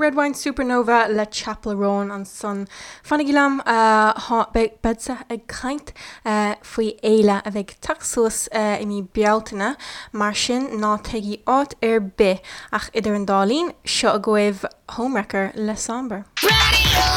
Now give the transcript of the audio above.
Red Wine Supernova le Chappell Roan ansan. Fanaigí liom, beadsa ag caint faoi fhéile a bheidh ag teacht suas i mí Bealtaine, mar sin ná téigí áit ar bith! Ach idir an dá linn, seo agaibh Homewrecker le Somber.